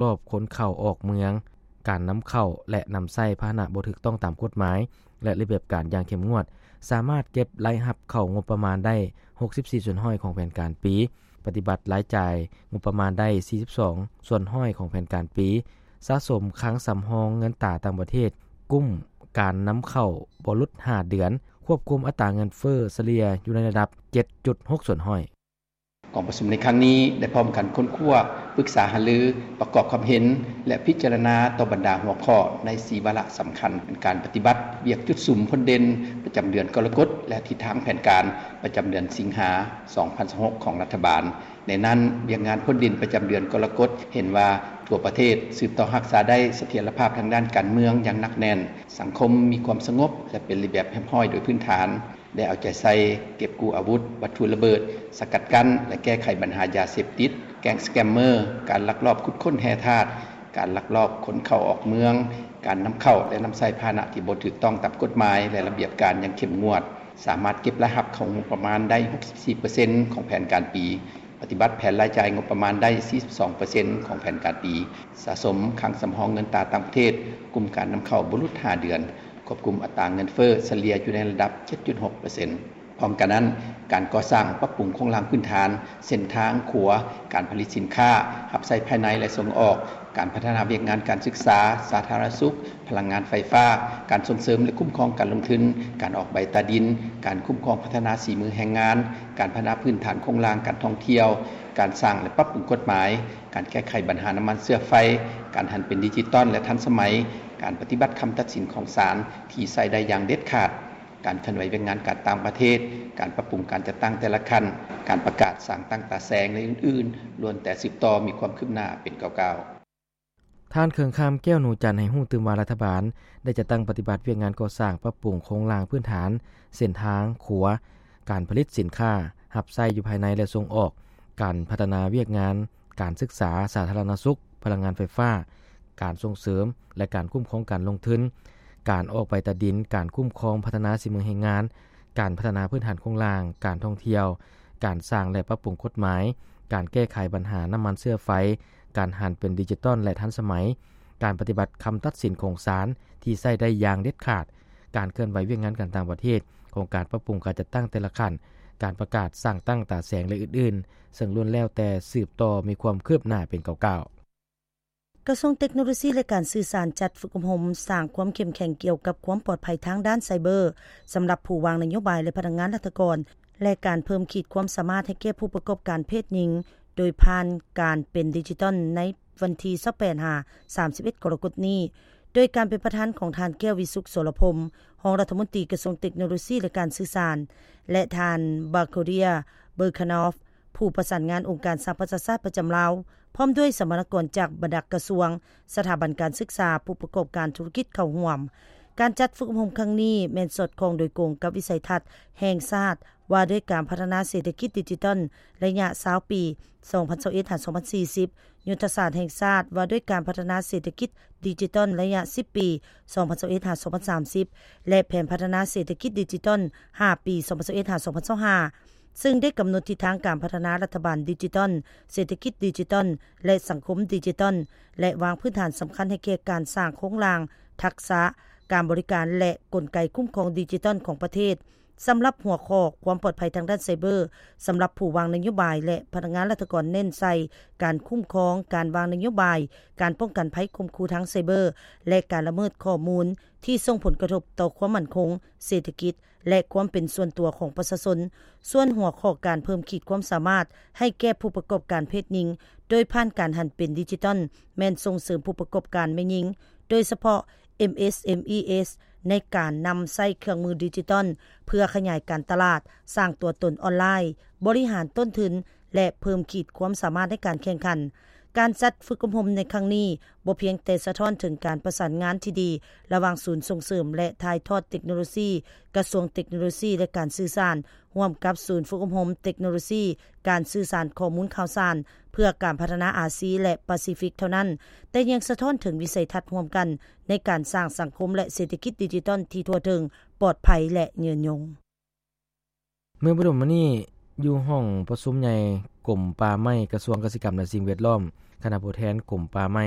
ລອບຄົນເຂົ້າອອກເມືອງ, ການນຳເຂົ້າ ແລະ ນຳໃຊ້ພາຫະນະບໍ່ຖືກຕ້ອງຕາມກົດໝາຍ ແລະ ລະບຽບການຢ່າງເຂັ້ມງວດ, ສາມາດເກັບລາຍຮັບເຂົ້າງົບປະມານໄດ້ຫົກສິບສີ່ສ່ວນຮ້ອຍຂອງແຜນການປີ, ປະຕິບັດລາຍຈ່າຍງົບປະມານໄດ້ສີ່ສິບສອງສ່ວນຮ້ອຍຂອງແຜນການປີ, ສະສົມຄັງສຳຮອງເງິນຕາຕ່າງປະເທດ, ກຸ້ມການນຳເຂົ້າບໍ່ຫຼຸດຫ້າເດືອນ, ຄວບຄຸມອັດຕາເງິນເຟີ້ສະເລ່ຍຢູ່ໃນລະດັບເຈັດຈຸດຫົກສ່ວນຮ້ອຍ. ກອງປະຊຸມໃນຄັ້ງນີ້ໄດ້ພ້ອມກັນຄົ້ນຄວ້າ, ປຶກສາຫາລື, ປະກອບຄວາມເຫັນ ແລະ ພິຈາລະນາຕໍ່ບັນດາຫົວຂໍ້ໃນສີ່ວາລະສຳຄັນ ແມ່ນການປະຕິບັດວຽກຈຸດສຸມພົ້ນເດັ່ນປະຈຳເດືອນກໍລະກົດ ແລະ ທິດທາງແຜນການປະຈຳເດືອນສິງຫາ ສອງພັນຊາວຫົກ ຂອງລັດຖະບານ. ໃນນັ້ນ, ວຽກງານພົ້ນເດັ່ນປະຈຳເດືອນກໍລະກົດ ເຫັນວ່າທົ່ວປະເທດສືບຕໍ່ຮັກສາໄດ້ສະຖຽນລະພາບທາງດ້ານການເມືອງຢ່າງໜັກແໜ້ນ, ສັງຄົມມີຄວາມສະຫງົບ ແລະ ເປັນລະບຽບຮຽບຮ້ອຍໂດຍພື້ນຖານ. ໄດ້ເອົາໃຈໃສ່ເກັບກູ້ອາວຸດ, ວັດຖຸລະເບີດ, ສະກັດກັ້ນ ແລະ ແກ້ໄຂບັນຫາຢາເສບຕິດ, ແກ້ງສະແກມເມີ, ການລັກລອບຂຸດຄົ້ນແຮ່ທາດ, ການລັກລອບຂົນເຂົ້າອອກເມືອງ, ການນຳເຂົ້າ ແລະ ນຳໃຊ້ພາຫະນະທີ່ບໍ່ຖືກຕ້ອງຕາມກົດໝາຍ ແລະ ລະບຽບການຢ່າງເຂັ້ມງວດ, ສາມາດເກັບລາຍຮັບເຂົ້າງົບປະມານໄດ້ຫົກສິບສີ່ເປີເຊັນຂອງແຜນການປີ, ປະຕິບັດແຜນລາຍຈ່າຍງົບປະມານໄດ້ສີ່ສິບສອງເປີເຊັນຂອງແຜນການປີ, ສະສົມຄັງສຳຮອງເງິນຕາຕ່າງປະເທດ, ກຸ່ມການນຳເຂົ້າບໍ່ຫຼຸດຫ້າເດືອນ, ຄວບຄຸມອັດຕາເງິນເຟີ້ສະເລ່ຍຢູ່ໃນລະດັບເຈັດຈຸດຫົກເປີເຊັນ. ພ້ອມກັນນັ້ນ, ການກໍ່ສ້າງປັບປຸງໂຄງລ່າງພື້ນຖານ, ເສັ້ນທາງ, ຂົວ, ການຜະລິດສິນຄ້າ, ຮັບໃຊ້ພາຍໃນ ແລະ ສົ່ງອອກ, ການພັດທະນາວຽກງານການສຶກສາ, ສາທາລະນະສຸກ, ພະລັງງານໄຟຟ້າ, ການສົ່ງເສີມ ແລະ ຄຸ້ມຄອງການລົງທຶນ, ການອອກໃບຕາດິນ, ການຄຸ້ມຄອງພັດທະນາສີມືແຮງງານ, ການພັດທະນາພື້ນຖານໂຄງລ່າງການທ່ອງທ່ຽວ, ການສ້າງ ແລະ ປັບປຸງກົດໝາຍ, ການແກ້ໄຂບັນຫານ້ຳມັນເຊື້ອໄຟ, ການຫັນເປັນດິຈິຕອນ ແລະ ທັນສະໄໝ, ການປະຕິບັດຄຳຕັດສິນຂອງສານທີ່ໃຊ້ໄດ້ຢ່າງເດັດຂາດ, ການເຄື່ອນໄຫວວຽກງານການຕ່າງປະເທດ, ການປັບປຸງການຈັດຕັ້ງແຕ່ລະຂັ້ນ, ການປະກາດສ້າງຕັ້ງຕາແສງ ແລະ ອື່ນໆ, ລ້ວນແຕ່ສືບຕໍ່ມີຄວາມຄືບໜ້າເປັນເກົ່າໆ. ທ່ານ ເຄື່ອງຄຳ ແກ້ວໜູຈັນ ໃຫ້ຮູ້ຕື່ມວ່າ ລັດຖະບານໄດ້ຈັດຕັ້ງປະຕິບັດວຽກງານກໍ່ສ້າງປັບປຸງໂຄງລ່າງພື້ນຖານ, ເສັ້ນທາງ, ຂົວ, ການຜະລິດສິນຄ້າຮັບໃຊ້ຢູ່ພາຍໃນ ແລະ ສົ່ງອອກ, ການພັດທະນາວຽກງານການສຶກສາ, ສາທາລະນະສຸກ, ພະລັງງານໄຟຟ້າ, ການສົ່ງເສີມ ແລະ ການຄຸ້ມຄອງການລົງທຶນ, ການອອກໃບຕາດິນ, ການຄຸ້ມຄອງພັດທະນາສີມືແຮງງານ, ການພັດທະນາພື້ນຖານໂຄງລ່າງ, ການທ່ອງທ່ຽວ, ການສ້າງ ແລະ ປັບປຸງກົດໝາຍ, ການແກ້ໄຂບັນຫານ້ຳມັນເຊື້ອໄຟ, ການຫັນເປັນດິຈິຕອນ ແລະ ທັນສະໄໝ, ການປະຕິບັດຄຳຕັດສິນຂອງສານທີ່ໃຊ້ໄດ້ຢ່າງເດັດຂາດ, ການເຄື່ອນໄຫວວຽກງານການຕ່າງປະເທດ, ໂຄງການປັບປຸງການຈັດຕັ້ງແຕ່ລະຂັ້ນ, ການປະກາດສ້າງຕັ້ງຕາແສງ ແລະ ອື່ນໆ, ເຊິ່ງລ້ວນແລ້ວແຕ່ສືບຕໍ່ມີຄວາມຄືບໜ້າເປັນກ້າວໆ. ກະຊວງເຕັກໂນໂລຊີ ແລະ ການສື່ສານ ຈັດຝຶກອົບຮົມສ້າງຄວາມເຂັ້ມແຂງກ່ຽວກັບຄວາມປອດໄພທາງດ້ານໄຊເບີ ສຳລັບຜູ້ວາງນະໂຍບາຍ ແລະ ພະນັກງານລັດຖະກອນ ແລະ ການເພີ່ມຂີດຄວາມສາມາດໃຫ້ແກ່ຜູ້ປະກອບການເພດຍິງ ໂດຍຜ່ານການເປັນດິຈິຕອນໃນວັນທີຊາວແປດຫາສາມສິບເອັດກໍລະກົດນີ້ ໂດຍການເປັນປະທານຂອງທ່ານ ແກ້ວວິສຸກ ໂສລະພົມ ຮອງລັດຖະມົນຕີກະຊວງເຕັກໂນໂລຊີ ແລະ ການສື່ສານ ແລະ ທ່ານ ບາໂຄເຣຍ ເບີຄານອຟ ຜູ້ປະສານງານອົງການສະຫະປະຊາຊາດປະຈຳລາວ ພ້ອມດ້ວຍສຳມະນາກອນຈາກບັນດາກະຊວງ, ສະຖາບັນການສຶກສາ, ຜູ້ປະກອບການທຸລະກິດເຂົ້າຮ່ວມ. ການຈັດຝຶກອົບຮົມຄັ້ງນີ້ແມ່ນສອດຄ່ອງໂດຍກົງກັບວິໄສທັດແຫ່ງຊາດວ່າດ້ວຍການພັດທະນາເສດຖະກິດດິຈິຕອນໄລຍະຊາວປີ ສອງພັນຊາວເອັດຫາສອງພັນສີ່ສິບ, ຍຸດທະສາດແຫ່ງຊາດວ່າດ້ວຍການພັດທະນາເສດຖະກິດດິຈິຕອນໄລຍະສິບປີ ສອງພັນຊາວເອັດຫາສອງພັນສາມສິບ ແລະ ແຜນພັດທະນາເສດຖະກິດດິຈິຕອນຫ້າປີ ສອງພັນຊາວເອັດຫາສອງພັນຊາວຫ້າ ເຊິ່ງໄດ້ກຳນົດທິດທາງການພັດທະນາລັດຖະບານດິຈິຕອນ, ເສດຖະກິດດິຈິຕອນ ແລະ ສັງຄົມດິຈິຕອນ ແລະ ວາງພື້ນຖານສຳຄັນໃຫ້ແກ່ການສ້າງໂຄງລ່າງ, ທັກສະ, ການບໍລິການ ແລະ ກົນໄກຄຸ້ມຄອງດິຈິຕອນຂອງປະເທດ. ສຳລັບຫົວຂໍ້ຄວາມປອດໄພທາງດ້ານໄຊເບີ ສຳລັບຜູ້ວາງນະໂຍບາຍ ແລະ ພະນັກງານລັດຖະກອນ ເນັ້ນໃສ່ການຄຸ້ມຄອງ, ການວາງນະໂຍບາຍ, ການປ້ອງກັນໄພຂົ່ມຂູ່ທາງໄຊເບີ ແລະ ການລະເມີດຂໍ້ມູນທີ່ສົ່ງຜົນກະທົບຕໍ່ຄວາມໝັ້ນຄົງເສດຖະກິດ ແລະ ຄວາມເປັນສ່ວນຕົວຂອງປະຊາຊົນ. ສ່ວນຫົວຂໍ້ການເພີ່ມຂີດຄວາມສາມາດໃຫ້ແກ່ຜູ້ປະກອບການເພດຍິງ ໂດຍຜ່ານການຫັນເປັນດິຈິຕອນ ແມ່ນສົ່ງເສີມຜູ້ປະກອບການແມ່ຍິງ, ໂດຍສະເພາະ ເອັມເອສເອັມອີເອສ ໃນການນຳໃຊ້ເຄື່ອງມືດິຈິຕອນ ເພື່ອຂະຫຍາຍການຕະຫຼາດ, ສ້າງຕົວຕົນອອນລາຍ, ບໍລິຫານຕົ້ນທຶນ ແລະ ເພີ່ມຂີດຄວາມສາມາດໃນການແຂ່ງຂັນ. ການຈັດຝຶກອົບຮົມໃນຄັ້ງນີ້ ບໍ່ພຽງແຕ່ສະທ້ອນເຖິງການປະສານງານທີ່ດີລະຫວ່າງສູນສົ່ງເສີມ ແລະ ຖ່າຍທອດເຕັກໂນໂລຊີ ກະຊວງເຕັກໂນໂລຊີ ແລະ ການສື່ສານ ຮ່ວມກັບສູນຝຶກອົບຮົມເຕັກໂນໂລຊີ ການສື່ສານຂໍ້ມູນຂ່າວສານ ເພື່ອການພັດທະນາອາຊີ ແລະ ປາຊີຟິກເທົ່ານັ້ນ, ແຕ່ຍັງສະທ້ອນເຖິງວິໄສທັດຮ່ວມກັນໃນການສ້າງສັງຄົມ ແລະ ເສດຖະກິດດິຈິຕອນທີ່ທົ່ວເຖິງ, ປອດໄພ ແລະ ຍືນຍົງ. ເມື່ອບໍ່ດົນມານີ້, ຢູ່ຫ້ອງປະຊຸມໃຫຍ່ກົມປ່າໄມ້ ກະຊວງກະສິກຳ ແລະ ສິ່ງແວດລ້ອມ, ຄະນະຜູ້ແທນກົມປ່າໄມ້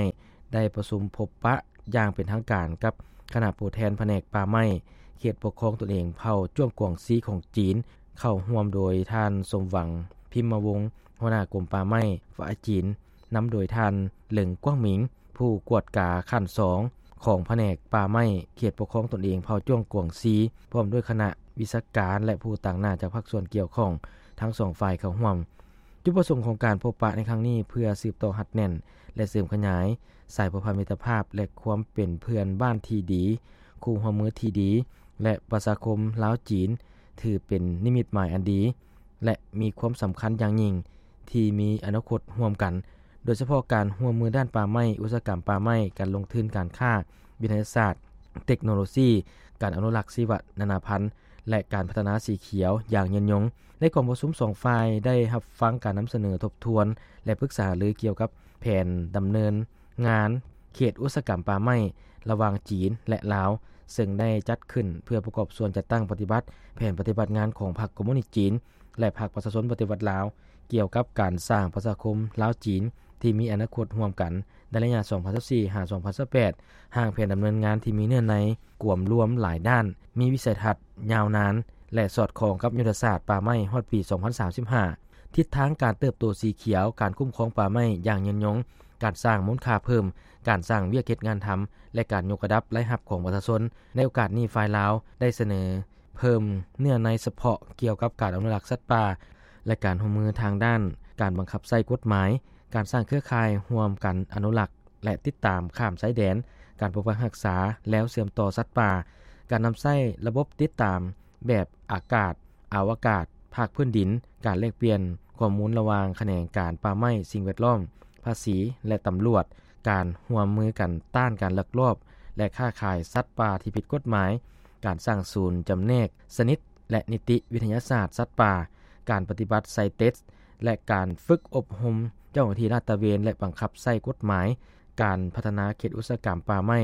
ໄດ້ປະຊຸມພົບປະຢ່າງເປັນທາງການກັບຄະນະຜູ້ແທນພະແນກປ່າໄມ້ ເຂດປົກຄອງຕົນເອງເຜົ່າຈວງກວາງຊີຂອງຈີນ, ເຂົ້າຮ່ວມໂດຍທ່ານ ສົມຫວັງ ພິມມະວົງ ຫົວໜ້າກົມປ່າໄມ້ຝ່າຍຈີນ, ນຳໂດຍທ່ານ ເລິງ ກວາງໝິງ ຜູ້ກວດກາຂັ້ນສອງຂອງພະແນກປ່າໄມ້ເຂດປົກຄອງຕົນເອງເຜົ່າຈວງກວາງຊີ, ພ້ອມດ້ວຍຄະນະວິຊາການ ແລະ ຜູ້ຕາງໜ້າຈາກພາກສ່ວນກ່ຽວຂ້ອງທັງສອງຝ່າຍເຂົ້າຮ່ວມ. ຈຸດປະສົງຂອງການພົບປະໃນຄັ້ງນີ້ ເພື່ອສືບຕໍ່ຮັດແໜ້ນ ແລະ ເສີມຂະຫຍາຍສາຍພົວພັນມິດຕະພາບ ແລະ ຄວາມເປັນເພື່ອນບ້ານທີ່ດີ, ຄູ່ຮ່ວມມືທີ່ດີ ແລະ ປະຊາຄົມລາວ-ຈີນ ຖືເປັນນິມິດໝາຍອັນດີ ແລະ ມີຄວາມສຳຄັນຢ່າງຍິ່ງທີ່ມີອະນາຄົດຮ່ວມກັນ, ໂດຍສະເພາະການຮ່ວມມືດ້ານປ່າໄມ້, ອຸດສາຫະກຳປ່າໄມ້, ການລົງທຶນ, ການຄ້າ, ວິທະຍາສາດ, ເຕັກໂນໂລຊີ, ການອະນຸລັກຊີວະນານາພັນ ແລະ ການພັດທະນາສີຂຽວຢ່າງຍືນຍົງ. ໃນກອງປະຊຸມ ສອງຝ່າຍໄດ້ຮັບຟັງການນຳສະເໜີທົບທວນ ແລະ ປຶກສາຫາລືກ່ຽວກັບແຜນດຳເນີນງານເຂດອຸດສາຫະກຳປ່າໄມ້ລະຫວ່າງຈີນ ແລະ ລາວ, ເຊິ່ງໄດ້ຈັດຂຶ້ນເພື່ອປະກອບສ່ວນຈັດຕັ້ງປະຕິບັດແຜນປະຕິບັດງານຂອງພັກຄອມມູນິດຈີນ ແລະ ພັກປະຊາຊົນປະຕິວັດລາວ ກ່ຽວກັບການສ້າງປະຊາຄົມລາວ-ຈີນທີ່ມີອະນາຄົດຮ່ວມກັນໃນໄລຍະ ສອງພັນຊາວສີ່ ຫາ ສອງພັນຊາວແປດ, ຮ່າງແຜນດຳເນີນງານທີ່ມີເນື້ອໃນກວມລວມຫຼາຍດ້ານ, ມີວິໄສທັດຍາວນານ ແລະ ສອດຄ່ອງກັບຍຸດທະສາດປ່າໄມ້ຮອດປີສອງພັນສາມສິບຫ້າ, ທິດທາງການເຕີບໂຕສີຂຽວ, ການຄຸ້ມຄອງປ່າໄມ້ຢ່າງຍືນຍົງ, ການສ້າງມູນຄ່າເພີ່ມ, ການສ້າງວຽກເຮັດງານທຳ ແລະ ການຍົກລະດັບລາຍຮັບຂອງປະຊາຊົນ. ໃນໂອກາດນີ້, ຝ່າຍລາວໄດ້ສະເໜີ ເພີ່ມເນື້ອໃນສະເພາະກ່ຽວກັບການອະນຸລັກສັດປ່າ ແລະ ການຮ່ວມມືທາງດ້ານການບັງຄັບໃຊ້ກົດໝາຍ, ການສ້າງເຄືອຂ່າຍຮ່ວມກັນອະນຸລັກ ແລະ ຕິດຕາມຂ້າມຊາຍແດນ, ການປົກປັກຮັກສາແລວເຊື່ອມຕໍ່ສັດປ່າ, ການນຳໃຊ້ລະບົບຕິດຕາມແບບອາກາດ, ອະວະກາດ, ພາກພື້ນດິນ, ການແລກປ່ຽນຂໍ້ມູນລະຫວ່າງຂະແໜງການປ່າໄມ້, ສິ່ງແວດລ້ອມ, ພາສີ ແລະ ຕຳຫຼວດ, ການຮ່ວມມືກັນຕ້ານການລັກລອບ ແລະ ຄ້າຂາຍສັດປ່າທີ່ຜິດກົດໝາຍ, ການສ້າງສູນຈຳແນກຊະນິດ ແລະ ນິຕິວິທະຍາສາດສັດປ່າ, ການປະຕິບັດໄຊເຕັດ ແລະ ການຝຶກອົບຮົມເຈົ້າໜ້າທີ່ລາດຕະເວນ ແລະ ບັງຄັບໃຊ້ກົດໝາຍ. ການພັດທະນາເຂດອຸດສາຫະກຳປ່າໄມ້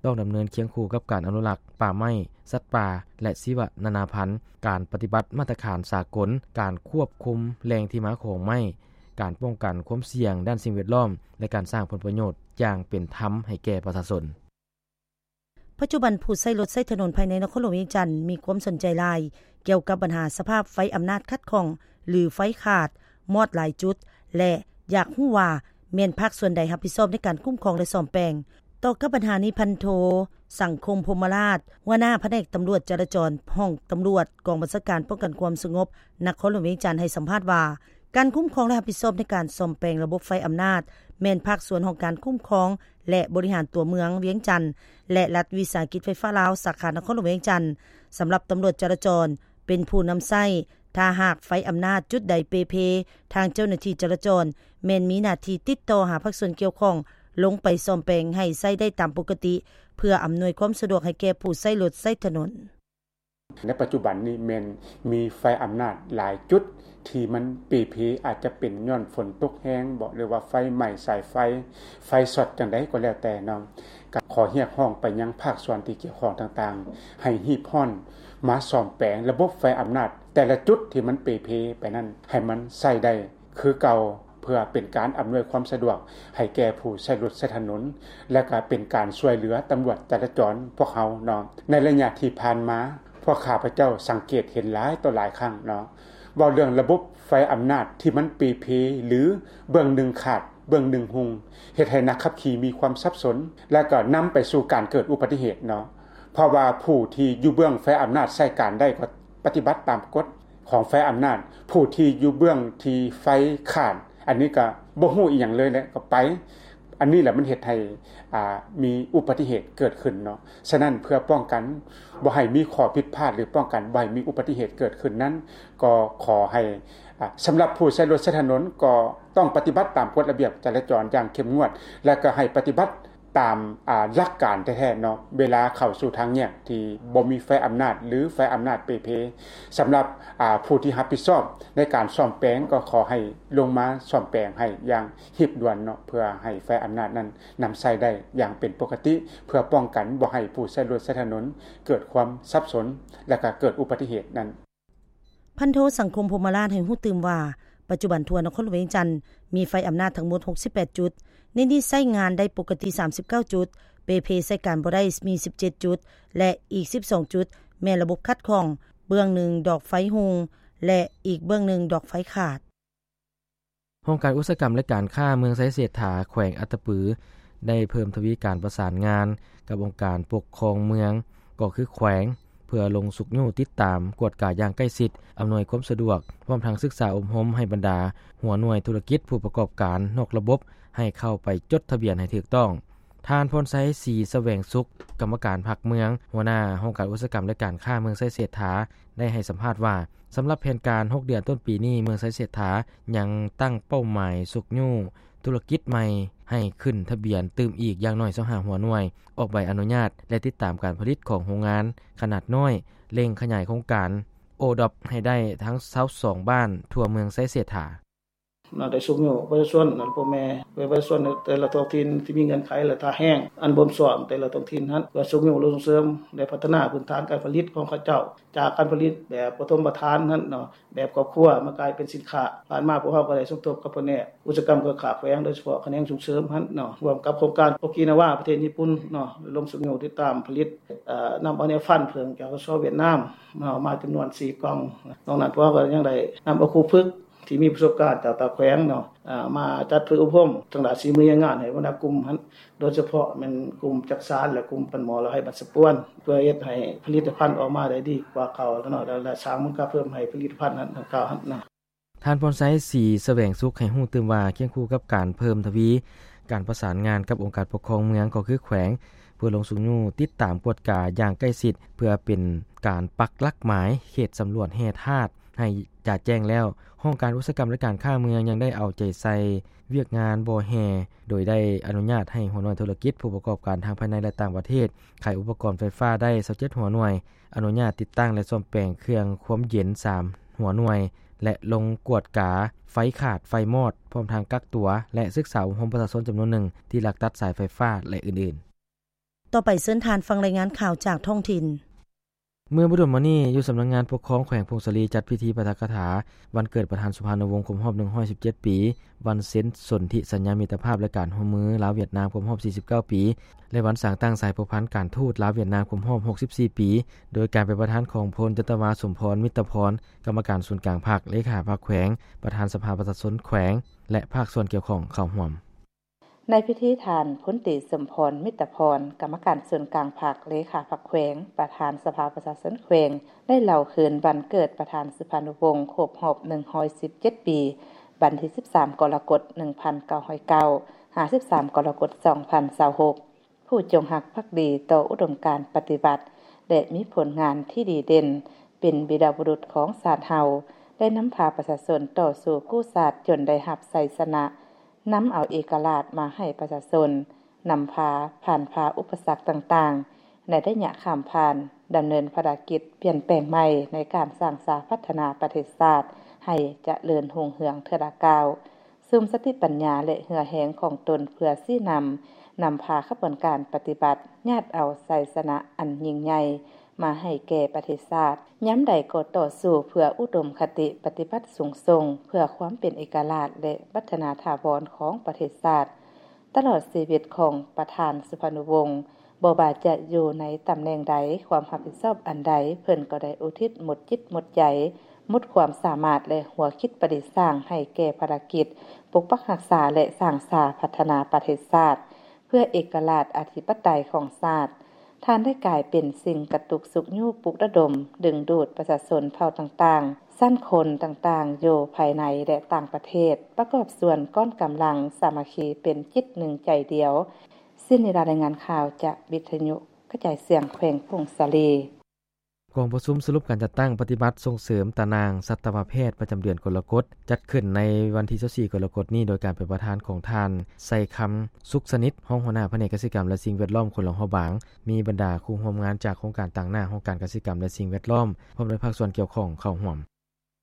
ຕ້ອງດຳເນີນຄຽງຄູ່ກັບການອະນຸລັກປ່າໄມ້, ສັດປ່າ ແລະ ຊີວະນານາພັນ, ການປະຕິບັດມາດຕະຖານສາກົນ, ການຄວບຄຸມແຫຼ່ງທີ່ມາຂອງໄມ້, ການປ້ອງກັນຄວາມສ່ຽງດ້ານສິ່ງແວດລ້ອມ ແລະ ການສ້າງຜົນປະໂຫຍດຢ່າງເປັນທຳໃຫ້ແກ່ປະຊາຊົນ. ປັດຈຸບັນຜູ້ໃຊ້ລົດໃຊ້ຖະໜົນພາຍໃນນະຄອນຫຼວງວຽງຈັນ ມີຄວາມສົນໃຈຫຼາຍກ່ຽວກັບບັນຫາສະພາບໄຟອຳນາດຂັດຂ້ອງ ຫຼື ໄຟຂາດ, ມອດຫຼາຍຈຸດ ແລະ ຢາກຮູ້ວ່າແມ່ນພາກສ່ວນໃດຮັບຜິດຊອບໃນການຄຸ້ມຄອງ ແລະ ສ້ອມແປງ. ຕໍ່ກັບບັນຫານີ້, ພັນໂທ ສັງຄົມ ພົມມະລາດ ຫົວໜ້າພະແນກຕຳຫຼວດຈະລາຈອນ ຫ້ອງຕຳຫຼວດກອງບັນຊາການປ້ອງກັນຄວາມສະຫງົບນະຄອນຫຼວງວຽງຈັນ ໃຫ້ສຳພາດວ່າ ການຄຸ້ມຄອງ ແລະ ຮັບຜິດຊອບໃນການສ້ອມແປງລະບົບໄຟອຳນາດ ແມ່ນພາກສ່ວນຫ້ອງການຄຸ້ມຄອງ ແລະ ບໍລິຫານຕົວເມືອງວຽງຈັນ ແລະ ລັດວິສາຫະກິດໄຟຟ້າລາວ ສາຂານະຄອນຫຼວງວຽງຈັນ. ສຳລັບຕຳຫຼວດຈະລາຈອນ ເປັນຜູ້ນຳໃຊ້, ຖ້າຫາກໄຟອຳນາດຈຸດໃດເປ່ເພ, ທາງເຈົ້າໜ້າທີ່ຈະລາຈອນແມ່ນມີໜ້າທີ່ຕິດຕໍ່ຫາພາກສ່ວນກ່ຽວຂ້ອງ ລົງໄປສ້ອມແປງໃຫ້ໃຊ້ໄດ້ຕາມປົກກະຕິ ເພື່ອອຳນວຍຄວາມສະດວກໃຫ້ແກ່ຜູ້ໃຊ້ລົດໃຊ້ຖະໜົນ. ໃນປັດຈຸບັນນີ້ແມ່ນມີໄຟອຳນາດຫຼາຍຈຸດທີ່ມັນເປ່ເພ, ອາດຈະເປັນຍ້ອນຝົນຕົກແຮງບໍ ຫຼືວ່າໄຟໄໝ້ສາຍໄຟ, ໄຟຊັອດຈັ່ງໃດກໍແລ້ວແຕ່ເນາະ. ກໍຂໍຮຽກຮ້ອງໄປຍັງພາກສ່ວນທີ່ກ່ຽວຂ້ອງຕ່າງໆ ໃຫ້ຮີບຮ້ອນມາສ້ອມແປງລະບົບໄຟອຳນາດແຕ່ລະຈຸດທີ່ມັນເປ່ເພໄປນັ້ນ ໃຫ້ມັນໃຊ້ໄດ້ຄືເກົ່າ ເພື່ອເປັນການອຳນວຍຄວາມສະດວກໃຫ້ແກ່ຜູ້ໃຊ້ລົດໃຊ້ຖະໜົນ ແລະ ກໍເປັນການຊ່ວຍເຫຼືອຕຳຫຼວດຈະລາຈອນພວກເຮົາເນາະ. ໃນໄລຍະທີ່ຜ່ານມາ ພວກຂ້າພະເຈົ້າສັງເກດເຫັນຫຼາຍຕໍ່ຫຼາຍຄັ້ງເນາະ, ເວົ້າເລື່ອງລະບົບໄຟອຳນາດທີ່ມັນເປ່ເພ ຫຼື ເບື້ອງໜຶ່ງຂາດ ເບື້ອງໜຶ່ງຮຸ່ງ, ເຮັດໃຫ້ນັກຂັບຂີ່ມີຄວາມສັບສົນ ແລະ ກໍນຳໄປສູ່ການເກີດອຸບັດຕິເຫດເນາະ. ເພາະວ່າຜູ້ທີ່ຢູ່ເບື້ອງໄຟອຳນາດໃຊ້ການໄດ້ກໍປະຕິບັດຕາມກົດ ຂອງໄຟອຳນາດ, ຜູ້ທີ່ຢູ່ເບື້ອງທີ່ໄຟຂາດ ອັນນີ້ກໍບໍ່ຮູ້ອີ່ຫຍັງເລີຍແຫຼະ ກໍໄປ. ອັນນີ້ແຫຼະມັນເຮັດໃຫ້ ອ່າ ມີອຸບັດຕິເຫດເກີດຂຶ້ນເນາະ. ສະນັ້ນເພື່ອປ້ອງກັນບໍ່ໃຫ້ມີຂໍ້ຜິດພາດ ຫຼື ປ້ອງກັນບໍ່ໃຫ້ມີອຸບັດຕິເຫດເກີດຂຶ້ນນັ້ນ ກໍຂໍໃຫ້ ອ່າ ສຳລັບຜູ້ໃຊ້ລົດໃຊ້ຖະໜົນ ກໍຕ້ອງປະຕິບັດຕາມກົດລະບຽບຈະລາຈອນຢ່າງເຂັ້ມງວດ ແລະ ກໍໃຫ້ປະຕິບັດ ຕາມ ອ່າ ຫຼັກການແທ້ໆເນາະ ເວລາເຂົ້າສູ່ທາງແຍກທີ່ບໍ່ມີໄຟອຳນາດ ຫຼື ໄຟອຳນາດເປ່ເພ. ສຳລັບ ອ່າ ຜູ້ທີ່ຮັບຜິດຊອບໃນການສ້ອມແປງ ກໍຂໍໃຫ້ລົງມາສ້ອມແປງໃຫ້ຢ່າງຮີບດ່ວນເນາະ ເພື່ອໃຫ້ໄຟອຳນາດນັ້ນນຳໃຊ້ໄດ້ຢ່າງເປັນປົກກະຕິ ເພື່ອປ້ອງກັນບໍ່ໃຫ້ຜູ້ໃຊ້ລົດໃຊ້ຖະໜົນເກີດຄວາມສັບສົນ ແລະ ກໍເກີດອຸບັດຕິເຫດນັ້ນ. ພັນໂທ ສັງຄົມ ພົມມະລາດ ໃຫ້ຮູ້ຕື່ມວ່າ ປັດຈຸບັນທົ່ວນະຄອນຫຼວງວຽງຈັນມີໄຟອຳນາດທັງໝົດຫົກສິບແປດຈຸດ, ໃນນີ້ໃຊ້ງານໄດ້ປົກກະຕິສາມສິບເກົ້າຈຸດ, ເປ່ເພໃຊ້ການບໍ່ໄດ້ມີສິບເຈັດຈຸດ ແລະ ອີກສິບສອງຈຸດແມ່ນລະບົບຂັດຂ້ອງ, ເບື້ອງໜຶ່ງດອກໄຟຮຸ່ງ ແລະ ອີກເບື້ອງໜຶ່ງດອກໄຟຂາດ. ຫ້ອງການອຸດສາຫະກຳ ແລະ ການຄ້າເມືອງໄຊເສດຖາ ແຂວງອັດຕະປື ໄດ້ເພີ່ມທະວີການປະສານງານກັບອົງການປົກຄອງເມືອງ ກໍຄືແຂວງ ເພື່ອລົງຊຸກຍູ້ຕິດຕາມ, ກວດກາຢ່າງໃກ້ຊິດ, ອຳນວຍຄວາມສະດວກ, ພ້ອມທັງສຶກສາອົບຮົມໃຫ້ບັນດາຫົວໜ່ວຍທຸລະກິດຜູ້ປະກອບການນອກລະບົບ ໃຫ້ເຂົ້າໄປຈົດທະບຽນໃຫ້ຖືກຕ້ອງ. ທ່ານ ພອນໄຊ ສີສະແຫວງສຸກ ກຳມະການພັກເມືອງ, ຫົວໜ້າຫ້ອງການອຸດສາຫະກຳ ແລະ ການຄ້າເມືອງໄຊເສດຖາ ໄດ້ໃຫ້ສຳພາດວ່າ ສຳລັບແຜນການຫົກເດືອນຕົ້ນປີນີ້, ເມືອງໄຊເສດຖາຍັງຕັ້ງເປົ້າໝາຍຊຸກຍູ້ທຸລະກິດໃໝ່ໃຫ້ຂຶ້ນທະບຽນຕື່ມອີກຢ່າງໜ້ອຍຊາວຫ້າຫົວໜ່ວຍ, ອອກໃບອະນຸຍາດ ແລະ ຕິດຕາມການຜະລິດຂອງໂຮງງານຂະໜາດນ້ອຍ, ເລັ່ງຂະຫຍາຍໂຄງການໂອດອບໃຫ້ໄດ້ທັງຊາວສອງບ້ານທົ່ວເມືອງໄຊເສດຖາ. ນະ ໄດ້ຊຸກຍູ້ປະຊາຊົນ ນະ ພໍ່ແມ່ປະຊາຊົນໃນແຕ່ລະທ້ອງຖິ່ນທີ່ມີເງື່ອນໄຂ ແລະ ທ່າແຮງອັນບົ່ມຊ້ອມແຕ່ລະທ້ອງຖິ່ນຫັ້ນ ເພື່ອຊຸກຍູ້ລົງສົ່ງເສີມ ແລະ ພັດທະນາພື້ນຖານການຜະລິດຂອງເຂົາເຈົ້າ ຈາກການຜະລິດແບບປະຖົມປະຖານຫັ້ນເນາະ ແບບຄອບຄົວມາກາຍເປັນສິນຄ້າ. ຜ່ານມາພວກເຮົາກໍໄດ້ສົມທົບກັບພະແນກອຸດສາຫະກຳເຄື່ອງຄ້າແຂວງ ໂດຍສະເພາະຂະແໜງສົ່ງເສີມຫັ້ນເນາະ ຮ່ວມກັບໂຄງການໂອກິນາວາ ປະເທດຍີ່ປຸ່ນເນາະ ລົງຊຸກຍູ້ຕິດຕາມຜະລິດ ເອີ ນຳເອົາແນວຟັນເຜິ້ງຈາກ ກສ ຫວຽດນາມເນາະ ມາຈຳນວນສີ່ກ່ອງ. ນອກນັ້ນພວກເຮົາກໍຍັງໄດ້ນຳເອົາຄູຝຶກ ທີ່ມີປະສົບການຈາກຕ່າງແຂວງເນາະ ເອີ ມາຈັດຝຶກອົບຮົມທາງດ້ານສີມືແຮງງານໃຫ້ບັນດາກຸ່ມຫັ້ນ ໂດຍສະເພາະແມ່ນກຸ່ມຈັກສານ ແລະ ກຸ່ມປັນໝໍ້ລະໄຫບັນສະປວນ ເພື່ອເຮັດໃຫ້ຜະລິດຕະພັນອອກມາໄດ້ດີກວ່າເກົ່າເນາະ ແລະ ແລະ ສ້າງມູນຄ່າເພີ່ມໃຫ້ຜະລິດຕະພັນນັ້ນ ດັ່ງກ່າວຫັ້ນເນາະ. ທ່ານ ພອນໄຊ ສີສະແຫວງສຸກ ໃຫ້ຮູ້ຕື່ມວ່າ ຄຽງຄູ່ກັບການເພີ່ມທະວີການປະສານງານກັບອົງການປົກຄອງເມືອງ ກໍຄືແຂວງ ເພື່ອລົງຊຸກຍູ້ຕິດຕາມກວດກາຢ່າງໃກ້ຊິດ ເພື່ອເປັນການປັກຫຼັກໝາຍເຂດສຳຫຼວດແຮ່ທາດ ໃຫ້ຈະແຈ້ງແລ້ວ, ຫ້ອງການອຸດສາຫະກຳ ແລະ ການຄ້າເມືອງຍັງໄດ້ເອົາໃຈໃສ່ວຽກງານບໍ່ແຮ່ ໂດຍໄດ້ອະນຸຍາດໃຫ້ຫົວໜ່ວຍທຸລະກິດຜູ້ປະກອບການທັງພາຍໃນ ແລະ ຕ່າງປະເທດ ຂາຍອຸປະກອນໄຟຟ້າໄດ້ຊາວເຈັດຫົວໜ່ວຍ, ອະນຸຍາດຕິດຕັ້ງ ແລະ ສ້ອມແປງເຄື່ອງຄວາມເຢັນສາມຫົວໜ່ວຍ ແລະ ລົງກວດກາໄຟຂາດ, ໄຟມອດ, ພ້ອມທັງກັກຕົວ ແລະ ສຶກສາອົບຮົມປະຊາຊົນຈຳນວນໜຶ່ງທີ່ລັກຕັດສາຍໄຟຟ້າ ແລະ ອື່ນໆ. ຕໍ່ໄປເຊີນທ່ານຟັງລາຍງານຂ່າວຈາກທ້ອງຖິ່ນ. ເມື່ອບໍ່ດົນມານີ້ ຢູ່ສຳນັກງານປົກຄອງແຂວງຜົ້ງສາລີ ຈັດພິທີປາຖະກະຖາວັນເກີດປະທານສຸພານຸວົງ ຄົບຮອບໜຶ່ງຮ້ອຍສິບເຈັດປີ, ວັນເຊັນສົນທິສັນຍາມິດຕະພາບ ແລະ ການຮ່ວມມືລາວ-ຫວຽດນາມ ຄົບຮອບສີ່ສິບເກົ້າປີ ແລະ ວັນສ້າງຕັ້ງສາຍພົວພັນການທູດລາວ-ຫວຽດນາມ ຄົບຮອບຫົກສິບສີ່ປີ ໂດຍການເປັນປະທານຂອງພົນຈັດຕະວາ ສົມພອນ ມິດຕະພອນ ກຳມະການສູນກາງພັກ, ເລຂາພັກແຂວງ, ປະທານສະພາປະຊາຊົນແຂວງ ແລະ ພາກສ່ວນກ່ຽວຂ້ອງເຂົ້າຮ່ວມ. ໃນພິທີ ທ່ານ ພົນຕີ ສົມພອນ ມິດຕະພອນ ກຳມະການສູນກາງພັກ, ເລຂາພັກແຂວງ, ປະທານສະພາປະຊາຊົນແຂວງ ໄດ້ເລົ່າຄືນວັນເກີດປະທານສຸພານຸວົງ ຄົບຮອບໜຶ່ງຮ້ອຍສິບເຈັດປີ, ວັນທີສິບສາມ ກໍລະກົດ ໜຶ່ງພັນເກົ້າຮ້ອຍເກົ້າ ຫາ ສິບສາມ ກໍລະກົດ ສອງພັນຊາວຫົກ ຜູ້ຈົງຮັກພັກດີຕໍ່ອຸດົມການປະຕິວັດ ແລະ ມີຜົນງານທີ່ດີເດັ່ນ, ເປັນວີລະບຸລຸດຂອງຊາດເຮົາ, ໄດ້ນຳພາປະຊາຊົນຕໍ່ສູ້ກູ້ຊາດຈົນໄດ້ຮັບໄຊຊະນະ, ນຳເອົາເອກະລາດມາໃຫ້ປະຊາຊົນ, ນຳພາຜ່ານຜ່າອຸປະສັກຕ່າງໆ ໃນໄລຍະຂ້າມຜ່ານ, ດຳເນີນພາລະກິດປ່ຽນແປງໃໝ່ໃນການສ້າງສາພັດທະນາປະເທດຊາດໃຫ້ຈະເລີນຮຸ່ງເຮືອງເທື່ອລະກ້າວ. ສຸມສະຕິປັນຍາ ແລະ ເຫື່ອແຮງຂອງຕົນເພື່ອຊີ້ນຳ, ນຳພາຂະບວນການປະຕິວັດ ຍາດເອົາໄຊຊະນະອັນຍິ່ງໃຫຍ່ມາໃຫ້ແກ່ປະເທດຊາດ, ຍາມໃດກໍຕໍ່ສູ້ເພື່ອອຸດົມຄະຕິປະຕິວັດສູງສົ່ງ ເພື່ອຄວາມເປັນເອກະລາດ ແລະ ວັດທະນາຖາວອນຂອງປະເທດຊາດ. ຕະຫຼອດຊີວິດຂອງປະທານສຸພານຸວົງ, ບໍ່ວ່າຈະຢູ່ໃນຕຳແໜ່ງໃດ, ຄວາມຮັບຜິດຊອບອັນໃດ, ເພິ່ນກໍໄດ້ອຸທິດໝົດຈິດໝົດໃຈ, ໝົດຄວາມສາມາດ ແລະ ຫົວຄິດປະດິດສ້າງໃຫ້ແກ່ພາລະກິດປົກປັກຮັກສາ ແລະ ສ້າງສາພັດທະນາປະເທດຊາດ ເພື່ອເອກະລາດອະທິປະໄຕຂອງຊາດ. ທ່ານໄດ້ກາຍເປັນສິ່ງກະຕຸກຊຸກຍູ້ປຸກລະດົມ, ດຶງດູດປະຊາຊົນເຜົ່າຕ່າງໆ, ຊັ້ນຄົນຕ່າງໆ ຢູ່ພາຍໃນ ແລະ ຕ່າງປະເທດ ປະກອບສ່ວນກ້ອນກຳລັງສາມັກຄີເປັນຈິດໜຶ່ງໃຈດຽວ. ເຊັ່ນນີ້ລະ ລາຍງານຂ່າວຈາກວິທະຍຸກະຈາຍສຽງແຂວງຜົ້ງສາລີ. ກອງປະຊຸມສະຫຼຸບການຈັດຕັ້ງປະຕິບັດສົ່ງເສີມຕານາງສັດຕະວະແພດປະຈຳເດືອນກໍລະກົດ ຈັດຂຶ້ນໃນວັນທີຊາວສີ່ກໍລະກົດນີ້ ໂດຍການເປັນປະທານຂອງທ່ານ ໄຊຄຳ ສຸກສະໜິດ ຮອງຫົວໜ້າພະແນກກະສິກຳ ແລະ ສິ່ງແວດລ້ອມ ແຂວງຫຼວງພະບາງ, ມີບັນດາຄູ່ຮ່ວມງານຈາກໂຄງການຕາງໜ້າຫ້ອງການກະສິກຳ ແລະ ສິ່ງແວດລ້ອມ ພ້ອມດ້ວຍພາກສ່ວນກ່ຽວຂ້ອງເຂົ້າຮ່ວມ.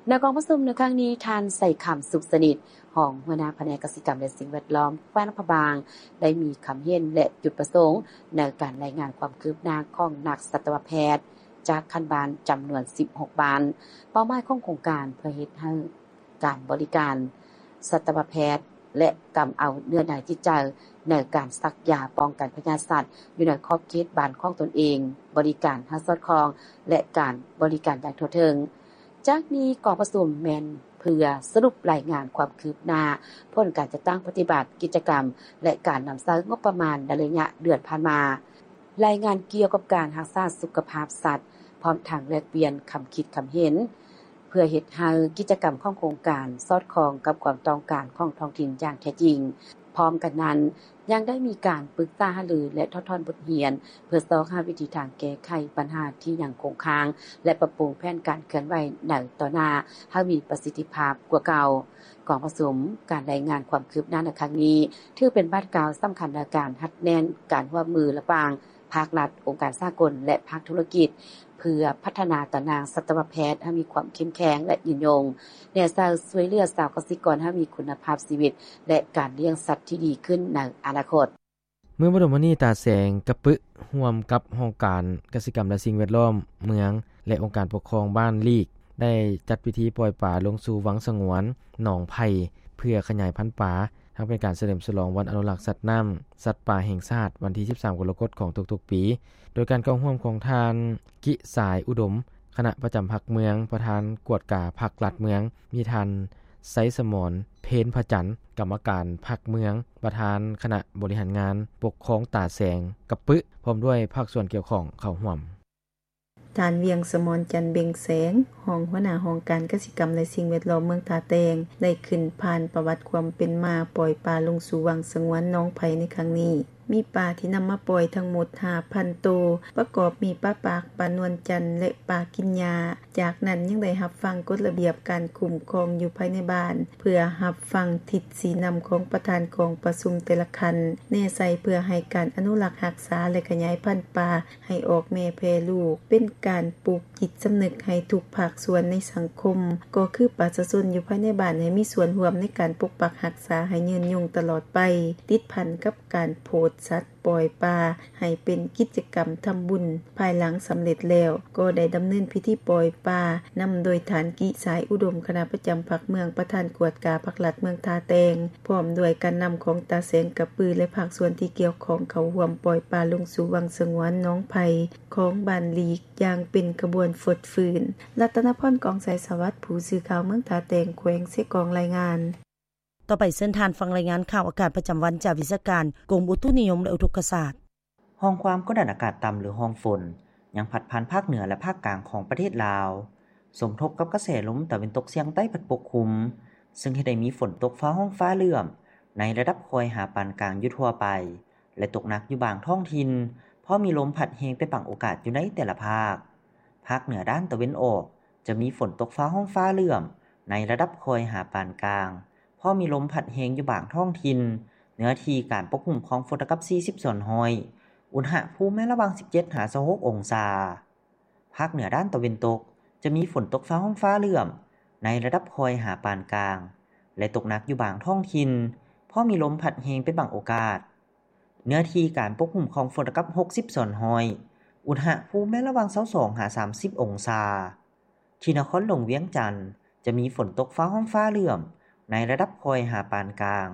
ໃນກອງປະຊຸມໃນຄັ້ງນີ້, ທ່ານ ໄຊຄຳ ສຸກສະໜິດ ຮອງຫົວໜ້າພະແນກກະສິກຳ ແລະ ສິ່ງແວດລ້ອມ ແຂວງຫຼວງພະບາງ ໄດ້ມີຄຳເຫັນ ແລະ ຈຸດປະສົງໃນການລາຍງານຄວາມຄືບໜ້າຂອງນັກສັດຕະວະແພດຈາກຂັ້ນບ້ານຈຳນວນສິບຫົກບ້ານ. ເປົ້າໝາຍຂອງໂຄງການເພື່ອເຮັດໃຫ້ ການບໍລິການສັດຕະວະແພດ ແລະ ກຳເອົາເນື້ອໃນຈິດໃຈໃນການສັກຢາປ້ອງກັນພະຍາດສັດ ຢູ່ໃນຂອບເຂດບ້ານຂອງຕົນເອງ, ບໍລິການໃຫ້ສອດຄ່ອງ ແລະ ການບໍລິການຢ່າງທົ່ວເຖິງ. ຈາກນີ້ກອງປະຊຸມແມ່ນເພື່ອສະຫຼຸບລາຍງານຄວາມຄືບໜ້າ ຜົນການຈັດຕັ້ງປະຕິບັດກິດຈະກຳ ແລະ ການນຳໃຊ້ງົບປະມານໃນໄລຍະເດືອນຜ່ານມາ, ລາຍງານກ່ຽວກັບການຮັກສາສຸຂະພາບສັດ, ພ້ອມທັງແລກປ່ຽນຄຳຄິດຄຳເຫັນ ເພື່ອເຮັດໃຫ້ກິດຈະກຳຂອງໂຄງການສອດຄ່ອງກັບຄວາມຕ້ອງການຂອງທ້ອງຖິ່ນຢ່າງແທ້ຈິງ. ພ້ອມກັນນັ້ນ, ຍັງໄດ້ມີການປຶກສາຫາລື ແລະ ຖອດຖອນບົດຮຽນ ເພື່ອຊອກຫາວິທີທາງແກ້ໄຂປັນຫາທີ່ຍັງຄົງຄ້າງ ແລະ ປັບປຸງແຜນການເຄື່ອນໄຫວໃນຕໍ່ໜ້າໃຫ້ມີປະສິດທິພາບກວ່າເກົ່າ. ກອງປະຊຸມການລາຍງານຄວາມຄືບໜ້າໃນຄັ້ງນີ້ ຖືເປັນບາດກ້າວສຳຄັນໃນການຮັດແໜ້ນການຮ່ວມມືລະຫວ່າງ ພາກລັດ, ອົງການສາກົນ ແລະ ພາກທຸລະກິດ ເພື່ອພັດທະນາຕາໜ່າງສັດຕະວະແພດໃຫ້ມີຄວາມເຂັ້ມແຂງ ແລະ ຍືນຍົງ, ແນໃສ່ຊ່ວຍເຫຼືອຊາວກະສິກອນໃຫ້ມີຄຸນນະພາບຊີວິດ ແລະ ການລ້ຽງສັດທີ່ດີຂຶ້ນໃນອະນາຄົດ. ເມື່ອບໍ່ດົນມານີ້ ຕາແສງກະປຶ ຮ່ວມກັບຫ້ອງການກະສິກຳ ແລະ ສິ່ງແວດລ້ອມເມືອງ ແລະ ອົງການປົກຄອງບ້ານລີກ ໄດ້ຈັດພິທີປ່ອຍປາລົງສູ່ວັງສະຫງວນໜອງໄຜ່ ເພື່ອຂະຫຍາຍພັນປາ ທັງເປັນການສະເຫຼີມສະຫຼອງວັນອະນຸລັກສັດນ້ຳ ສັດປ່າແຫ່ງຊາດ ວັນທີສິບສາມ ກໍລະກົດຂອງທຸກໆປີ ໂດຍການເຂົ້າຮ່ວມຂອງທ່ານ ກິສາຍ ອຸດົມ ຄະນະປະຈຳພັກເມືອງ, ປະທານກວດກາພັກລັດເມືອງ, ມີທ່ານ ໄຊສະໝອນ ເພນພະຈັນ ກຳມະການພັກເມືອງ, ປະທານຄະນະບໍລິຫານງານປົກຄອງຕາແສງກະປຶ ພ້ອມດ້ວຍພາກສ່ວນກ່ຽວຂ້ອງເຂົ້າຮ່ວມ. ທ່ານ ວຽງສະໝອນ ຈັນເບັງແສງ ຮອງຫົວໜ້າຫ້ອງການກະສິກຳ ແລະ ສິ່ງແວດລ້ອມເມືອງທ່າແຕງ ໄດ້ຂຶ້ນຜ່ານປະຫວັດຄວາມເປັນມາປ່ອຍປາລົງສູ່ວັງສະຫງວນໜອງໄຜ່ໃນຄັ້ງນີ້. ມີປາທີ່ນຳມາປ່ອຍທັງໝົດຫ້າພັນໂຕ, ປະກອບມີປາປາກ, ປານວນຈັນ ແລະ ປາກິນຫຍ້າ. ຈາກນັ້ນຍັງໄດ້ຮັບຟັງກົດລະບຽບການຄຸ້ມຄອງຢູ່ພາຍໃນບ້ານ, ເພື່ອຮັບຟັງທິດຊີ້ນຳຂອງປະທານກອງປະຊຸມແຕ່ລະຂັ້ນ, ແນໃສ່ເພື່ອໃຫ້ການອະນຸລັກຮັກສາ ແລະ ຂະຫຍາຍພັນປາ ໃຫ້ອອກແມ່ແຜ່ລູກ, ເປັນການປູກຈິດສຳນຶກໃຫ້ທຸກພາກສ່ວນໃນສັງຄົມ, ກໍຄືປະຊາຊົນຢູ່ພາຍໃນບ້ານ ໃຫ້ມີສ່ວນຮ່ວມໃນການປົກປັກຮັກສາໃຫ້ຍືນຍົງຕະຫຼອດໄປ, ຕິດພັນກັບການໂພດສັດ, ປ່ອຍປາ ໃຫ້ເປັນກິດຈະກຳທຳບຸນ. ພາຍຫຼັງສຳເລັດແລ້ວ, ກໍໄດ້ດຳເນີນພິທີປ່ອຍປາ ນຳໂດຍທ່ານ ກິສາຍ ອຸດົມ ຄະນະປະຈຳພັກເມືອງ, ປະທານກວດກາພັກລັດເມືອງທ່າແຕງ, ພ້ອມດ້ວຍການນຳຂອງຕາແສງກະປື ແລະ ພາກສ່ວນທີ່ກ່ຽວຂ້ອງເຂົ້າຮ່ວມປ່ອຍປາລົງສູ່ວັງສະຫງວນໜອງໄຜ່ ຂອງບ້ານລີກ ຢ່າງເປັນຂະບວນຟົດຟື້ນ. ລັດຕະນະພອນ ກອງໄຊສະຫວັດ ຜູ້ສື່ຂ່າວເມືອງທ່າແຕງ ແຂວງເຊກອງ ລາຍງານ. ຕໍ່ໄປເຊີນທ່ານຟັງລາຍງານຂ່າວອາກາດປະຈຳວັນຈາກວິຊາການກົມອຸຕຸນິຍົມ ແລະ ອຸທົກກະສາດ. ຮ່ອງຄວາມກົດດັນອາກາດຕ່ຳ ຫຼື ຮ່ອງຝົນ ຍັງພັດຜ່ານພາກເໜືອ ແລະ ພາກກາງຂອງປະເທດລາວ, ສົມທົບກັບກະແສລົມຕາເວັນຕົກສຽງໃຕ້ພັດປົກຄຸມ, ເຊິ່ງເຮັດໃຫ້ມີຝົນຕົກຟ້າຮ້ອງຟ້າເຫຼື້ອມ ໃນລະດັບຄ່ອຍຫາປານກາງຢູ່ທົ່ວໄປ ແລະ ຕົກໜັກຢູ່ບາງທ້ອງຖິ່ນ, ພໍມີລົມພັດແຮງເປັນບາງໂອກາດຢູ່ໃນແຕ່ລະພາກ. ພາກເໜືອດ້ານຕາເວັນອອກ ຈະມີຝົນຕົກຟ້າຮ້ອງຟ້າເຫຼື້ອມ ໃນລະດັບຄ່ອຍຫາປານກາງ, ພໍມີລົມພັດແຮງຢູ່ບາງທ້ອງຖິ່ນ, ເນື້ອທີ່ການປົກຄຸມຂອງຝົນລະດັບສີ່ສິບສ່ວນຮ້ອຍ, ອຸນຫະພູມແມ່ນລະຫວ່າງສິບເຈັດຫາຊາວຫົກອົງສາ. ພາກເໜືອດ້ານຕາເວັນຕົກ ຈະມີຝົນຕົກຟ້າຮ້ອງຟ້າເຫຼື້ອມ ໃນລະດັບຄ່ອຍຫາປານກາງ ແລະ ຕົກໜັກຢູ່ບາງທ້ອງຖິ່ນ, ພໍມີລົມພັດແຮງເປັນບາງໂອກາດ. ເນື້ອທີ່ການປົກຄຸມຂອງຝົນລະດັບຫົກສິບສ່ວນຮ້ອຍ, ອຸນຫະພູມແມ່ນລະຫວ່າງຊາວສອງຫາສາມສິບອົງສາ. ທີ່ນະຄອນຫຼວງວຽງຈັນ ຈະມີຝົນຕົກຟ້າຮ້ອງຟ້າເຫຼື້ອມ ໃນລະດັບຄ່ອຍຫາປານກາງ